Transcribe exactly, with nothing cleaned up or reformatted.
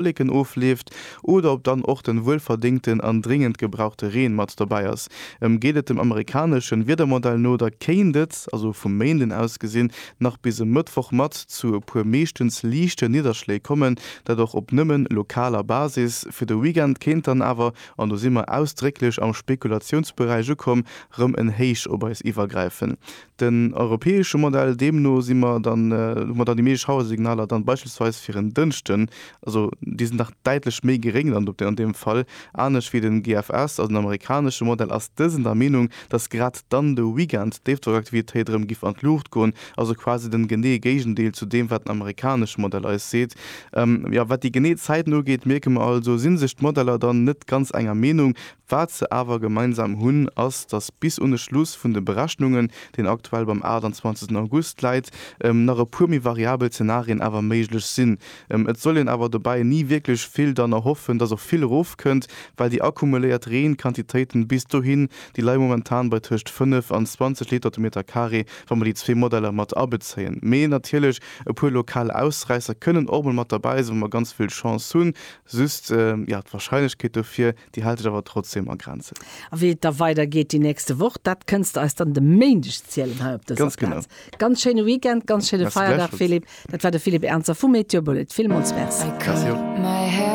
Wolleken ofleeft oder ob dann och den wuelverdéngten an dringend gebrauchte Reen mat dobäi ass. Geet et dem amerikaneschen Wiedermodell no, da kéint et, also vum Méinden aus gesinn, nach bis e Mëttwoch mat zu e puer meeschtens liichten Nidderschléi kommen, dat och op nëmmen lokaler Basis. Fir de Weekend kéint dann awer, an do si mer ausdrécklech am Spekulatiounsberäich ukomm, rëm en Héich op eis iwwergräifen. Den europäesche Modell deemno si mer dann, hu mer dann déi meescht Schauersignaler dann beispillsweis fir en Dënschden, also déi sinn nach däitlech méi geréng dann an deem Fall. Anescht wéi den G F S, also den amerikanesche Modell, ass dësen der Meenung, dass grad dann de Weekend d'Déifdrockaktivitéit erëm giff an d'Luucht goen, also quasi den geneeë Géigendeel zu deem wat den amerikanesche Modell eis seet. Jo, wat déi genee Zäiten ugeet, mierke mer also, si sech d'Modeller dann net ganz enger Meenung. Wat se awer gemeinsam hunn, ass, dass bis un de Schluss vun de Berechnungen, deen aktuell beim aachtanzwanzegsten August läit, nach e puer méi variabel Zenarien awer méiglech sinn. Et soll een awer dobäi ni wierklech vill dann erhoffen, dass och vill erofkënnt, well déi akkumuléiert Reenquantitéiten bis dohin, déi leie momentan bei tëscht fënnef an zwanzeg Liter de Meter Carré, wa mer déi zwee Modeller mat abezéien. Mee natierlech, e puer lokal Ausräisser kënnen och mol mat derbäi sinn, wa mer ganz vill Chance hunn. Just, jo, d'Warscheinlechkeet dofir, déi hält sech awer trotzdem a Grenzen. A wéi et da weidergeet déi nächste Woch, dat kënns de eis dann de Méindeg zielen hei op dëser Ganz genau. Plaz. Ganz schéine Weekend, ganz schéine Merci Feierdag, gläichfalls. Philippe. Dat war de Philippe Ernzer vu Meteobullet. Villmools Merci. Merci och. My hair.